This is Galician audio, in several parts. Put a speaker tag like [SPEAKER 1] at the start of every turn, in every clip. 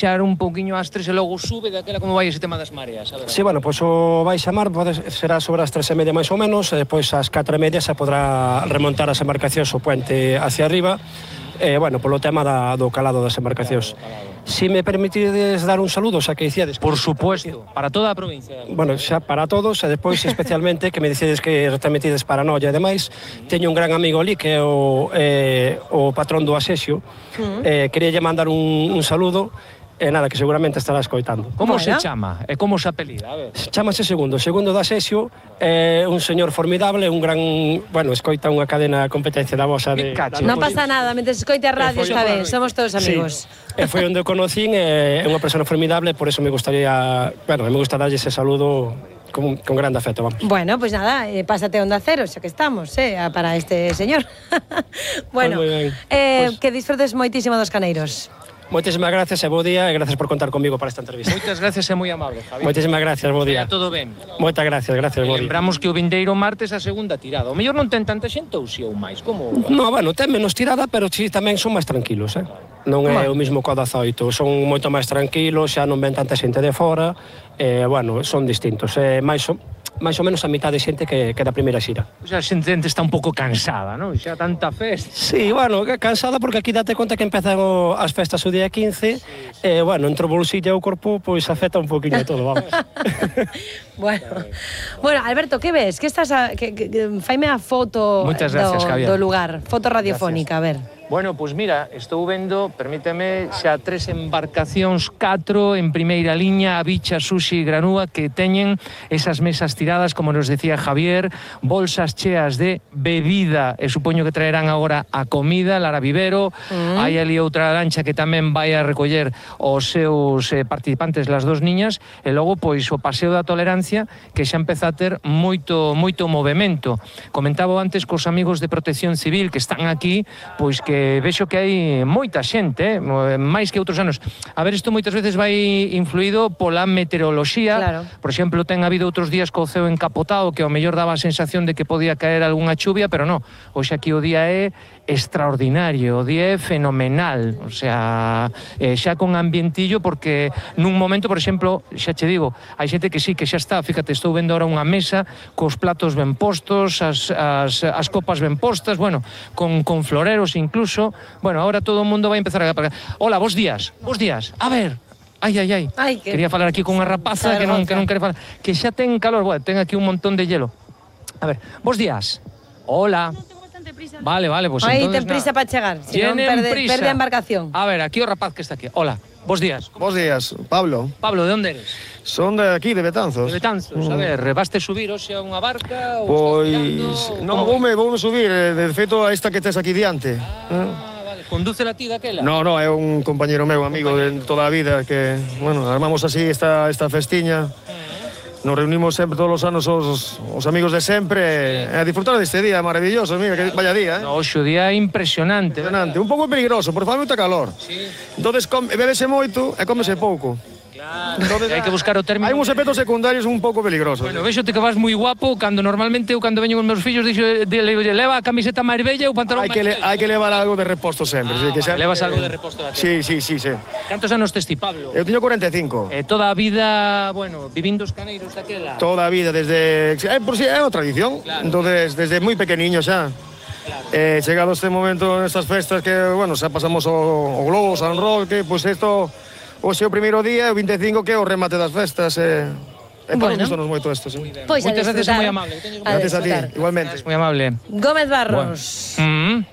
[SPEAKER 1] baixar un pouquiño ás 3 e logo sube daquela como vai ese tema das mareas.
[SPEAKER 2] Sí, bueno, pois o baixa mar será sobre as 3:30 máis ou menos, e depois ás 4:30 se podrá remontar as embarcacións o puente hacia arriba, bueno, polo tema do calado das embarcacións. Si me permitides dar un saludo, xa que dicíades...
[SPEAKER 1] Por supuesto, para toda a provincia.
[SPEAKER 2] Bueno, xa para todos, e depois especialmente que me dicides que retransmitides para Noia e demais, teño un gran amigo ali que é o patrón do Asexio, quería mandar un saludo. E nada, que seguramente estará escoitando.
[SPEAKER 1] Como se chama? E como se apelida? A ver.
[SPEAKER 2] Chámase Segundo do Asexio, é un señor formidable, un gran... Bueno, escoita unha cadena de competencia da vosa de...
[SPEAKER 3] Non pasa nada, mentre escoite a radio está ben, somos todos amigos.
[SPEAKER 2] E foi onde o conocín, é unha persona formidable, por eso me gustaría... Bueno, me gusta darlle ese saludo con grande afecto, vamos.
[SPEAKER 3] Bueno, pues nada, pásate a Onda Cero, xa que estamos, para este señor. Bueno, que disfrutes moitísimo dos caneiros.
[SPEAKER 2] Moitísimas gracias e bo día, e gracias por contar comigo para esta entrevista.
[SPEAKER 1] Moitas gracias e moi amable, Javi.
[SPEAKER 2] Moitísimas gracias, bo día.
[SPEAKER 1] Todo ben.
[SPEAKER 2] Moitas gracias, bo día.
[SPEAKER 1] Lembramos que o vindeiro martes a segunda tirada. O mellor non ten tanta xente ou si ou máis, como?
[SPEAKER 2] No, bueno, ten menos tirada, pero si tamén son máis tranquilos, Non é o mismo que o 18, son moito máis tranquilos, xa non ven tanta xente de fora, bueno, son distintos, máis ou menos a mitad de xente que da primeira xira.
[SPEAKER 1] Xa a xente está un pouco cansada, non? Xa tanta festa.
[SPEAKER 2] Sí, bueno, cansada porque aquí date conta que empezan as festas o día 15, bueno, entre o bolsillo e o corpo, pois afecta un poquinho todo, vamos.
[SPEAKER 3] Bueno, Alberto, que ves? Que estás faime a foto do lugar, foto radiofónica, a ver.
[SPEAKER 1] Bueno, pois mira, estou vendo, permíteme, xa 3 embarcacións, 4 en primeira liña, a Bicha, Sushi e Granúa, que teñen esas mesas tiradas, como nos decía Javier, bolsas cheas de bebida, e supoño que traerán agora a comida, Lara Vivero, hai ali outra lancha que tamén vai a recoller os seus participantes, las dos niñas, e logo, pois, o Paseo da Tolerancia, que xa empeza a ter moito movimento. Comentaba antes cos amigos de Protección Civil que están aquí, pois que vexo que hai moita xente, máis que outros anos. A ver, isto moitas veces vai influído pola meteoroloxía.
[SPEAKER 3] Claro.
[SPEAKER 1] Por exemplo, ten habido outros días co ceo encapotado que ao mellor daba a sensación de que podía caer algunha chuvia, pero non. Hoxe aquí o día é extraordinario, o día é fenomenal, o sea, xa con ambientillo, porque nun momento, por exemplo, xa che digo, hai xente que sí, que xa está, fíjate, estou vendo ahora unha mesa cos platos ben postos, as copas ben postas, bueno, con floreros incluso. Bueno, ahora todo o mundo vai empezar a... Hola, bos días. A ver... Ai, quería falar aquí con unha rapaza que non quere falar, que xa ten calor, bueno, ten aquí un montón de hielo. A ver, bos días. Hola. Vale, pues
[SPEAKER 3] aí
[SPEAKER 1] entonces...
[SPEAKER 3] ten prisa para chegar, se non perde a embarcación.
[SPEAKER 1] A ver, aquí o rapaz que está aquí. Hola, bos días.
[SPEAKER 4] Bos días, Pablo.
[SPEAKER 1] Pablo, de onde eres?
[SPEAKER 4] Son de aquí, de Betanzos.
[SPEAKER 1] De Betanzos, a ver, vaste subir hoxe a unha barca?
[SPEAKER 4] Pois, non, voume subir, de feito a esta que tes aquí diante.
[SPEAKER 1] Vale, conduce a ti daquela?
[SPEAKER 4] No, é un compañero meu, amigo de toda a vida, que, bueno, armamos así esta festiña. Nos reunimos sempre todos os anos os amigos de sempre a disfrutar deste día maravilloso, mira, que vaya día,
[SPEAKER 1] No, o día é impresionante.
[SPEAKER 4] Un pouco peligroso, porque fai moita calor.
[SPEAKER 1] Sí.
[SPEAKER 4] Entonces, bebese moito e cómese pouco.
[SPEAKER 1] Claro, hai que buscar o término.
[SPEAKER 4] Hai uns efectos secundarios un pouco peligrosos.
[SPEAKER 1] Bueno, vexote que vas moi guapo, cando normalmente eu cando veño con meus fillos dixo, leva a camiseta máis bella e o pantalón máis bella.
[SPEAKER 4] Hai que levar algo de reposto sempre.
[SPEAKER 1] Levas algo de reposto da
[SPEAKER 4] Sí.
[SPEAKER 1] Cantos anos tes ti, Pablo?
[SPEAKER 4] Eu teño 45.
[SPEAKER 1] Toda a vida, bueno, vivindo os caneiros daquela?
[SPEAKER 4] Toda a vida, desde... por si é unha tradición. Claro. Entonces, desde moi pequeniño xa. Claro. Chegado este momento, nestas festas que, bueno, xa pasamos o Globo, San Roque, pois isto... Hoxe o primeiro día, o 25, que é o remate das festas, para nos gustan moito isto, sí.
[SPEAKER 3] Pois
[SPEAKER 1] moitas gracias, moi amable.
[SPEAKER 4] Gracias a ti, igualmente.
[SPEAKER 1] Moi amable.
[SPEAKER 3] Gómez Barros,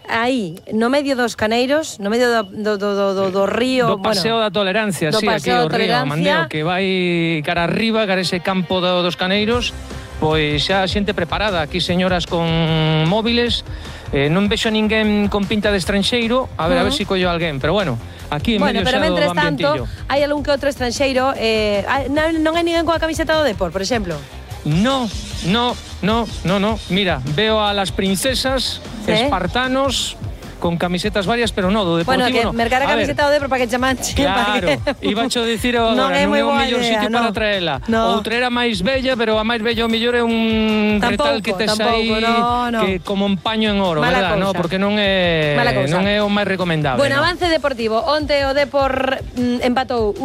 [SPEAKER 3] aí, no medio dos caneiros, no medio do río...
[SPEAKER 1] Do Paseo da Tolerancia, sí, aquí o río Mandeo, que vai cara arriba, cara ese campo dos caneiros, pois xa xente preparada, aquí señoras con móviles, non vexo ninguén con pinta de estranxeiro, a ver se collo alguén, pero bueno... Aquí en medio
[SPEAKER 3] pero
[SPEAKER 1] xa do
[SPEAKER 3] mentres
[SPEAKER 1] ambientillo.
[SPEAKER 3] tanto, hai algún que outro estranxeiro, non hai ninguén coa camiseta do Depor, por exemplo?
[SPEAKER 1] No. Mira, veo a las princesas, espartanos, con camisetas varias, pero no, do Deportivo.
[SPEAKER 3] Bueno, que mercar a camiseta do Depor para que che manche.
[SPEAKER 1] Claro, ibacho dicir agora, non é o mellor sitio para traela. Outra era máis bella, pero a máis bella o mellor é un retal que tes aí que como un paño en oro, verdad? No, porque non é o máis recomendable.
[SPEAKER 3] Bueno, avance deportivo. Onte o Depor empatou